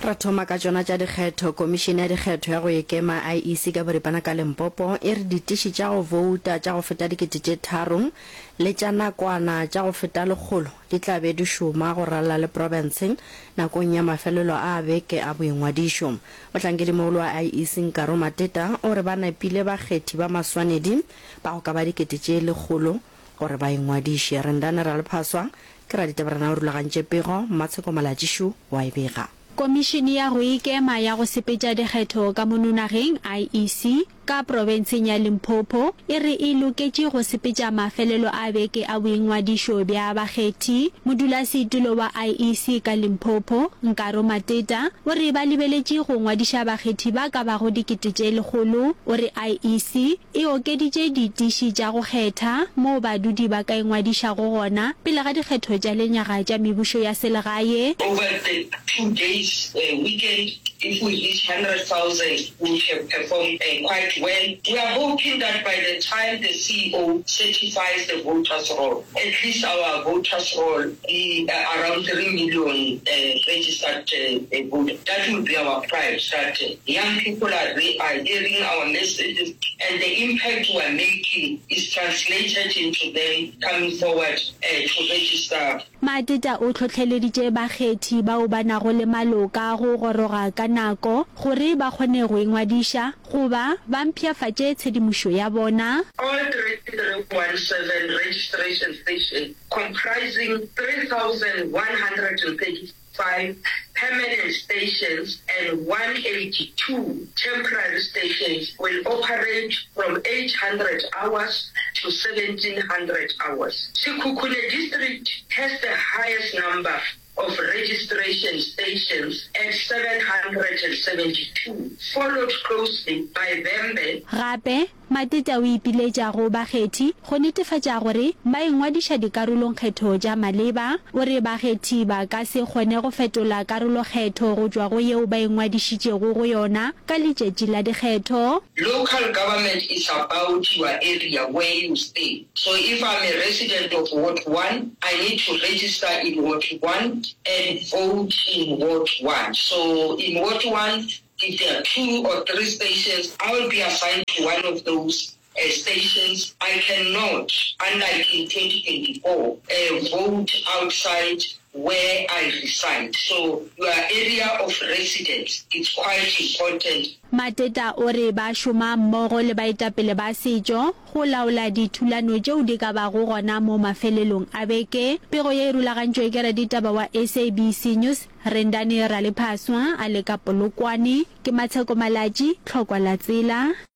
Ra thoma ka tšona tša dikgetho. Komišene ya Dikgetho ya go Ikema, IEC, ka boripana ka Limpopo e re ditiši tša go bouta tša go feta 3000 le tša nakwana tša go feta lekgolo di tla be di šoma go ralala le profense nakong ya mafelelo a beke a boingwadišo. Mohlankedimogolo wa IEC Nkaro Mateta o re ba nepile bakgethi ba maswanedi ba go ka ba 100,000 gore ba ingwadiše. Rendane Ralephaswa ke raditabarena o rulagantše pego, Mmatsheko Malatšišu wa e bega. Komišene ya go Ikema ya go Sepetša Dikgetho ka mono nageng, IEC, ka profenseng ya Limpopo e re e loketše go sepetša mafelelo a beke a boingwadišo bja bakgethi. Modulasetulo wa IEC ka Limpopo, Nkaro Mateta, o re ba lebeletše go ngwadiša bakgethi ba ka bago 100,000. O re IEC E okeditše ditiši tša go kgetha moo badudi ba ka ingwadišago gona pele ga dikgetho tša lenyaga tša mebušo ya selegae. Over the 2 days weekend if we reach 100,000 we would have performed quite well. We are hoping that by the time the CEO certifies the voters roll, at least our voters roll be around 3 million registered voters. That will be our pride that young people are are hearing our messages and the impact we are making is translated into them coming forward to register. Mateta o hlohleleditše bakgethi bao ba nago le maloka go goroga ka nako gore ba kgone go ingwadiša goba ba mpshafatše tshedimošo ya bona. All 3317 registration stations comprising 3135 permanent stations and 182 temporary stations will operate from 0800 hours to 1700 hours. Sekhukhune District has the highest number of registration stations at 772, followed closely by Vhembe, Gape, Mateta o ipiletša go bakgethi go netefatša gore ba ingwadiša dikarolongkgetho tša maleba. O re bakgethi ba ka se kgone go fetola karolokgetho go tšwa go yeo ba ingwadišitšego go yona ka letšatši la dikgetho. Local government is about your area where you stay so if I'm a resident of ward one I need to register in ward one and vote in ward one so in ward one If there are 2 or 3 stations, I will be assigned to one of those stations. I cannot, unlike in 2024, vote outside where I reside. So your area of residence, it's quite important. Mateta o re ba šoma mmogo le baetapele ba setšo go laola dithulano tšeo di ka bago gona mo mafelelong a beke. Pego ye e rulagantšwe ke raditaba wa SABC News, Rendani Ralephaswa a le ka Polokwane, ke Matsheko Malatji, Tlhokwa la Tsela.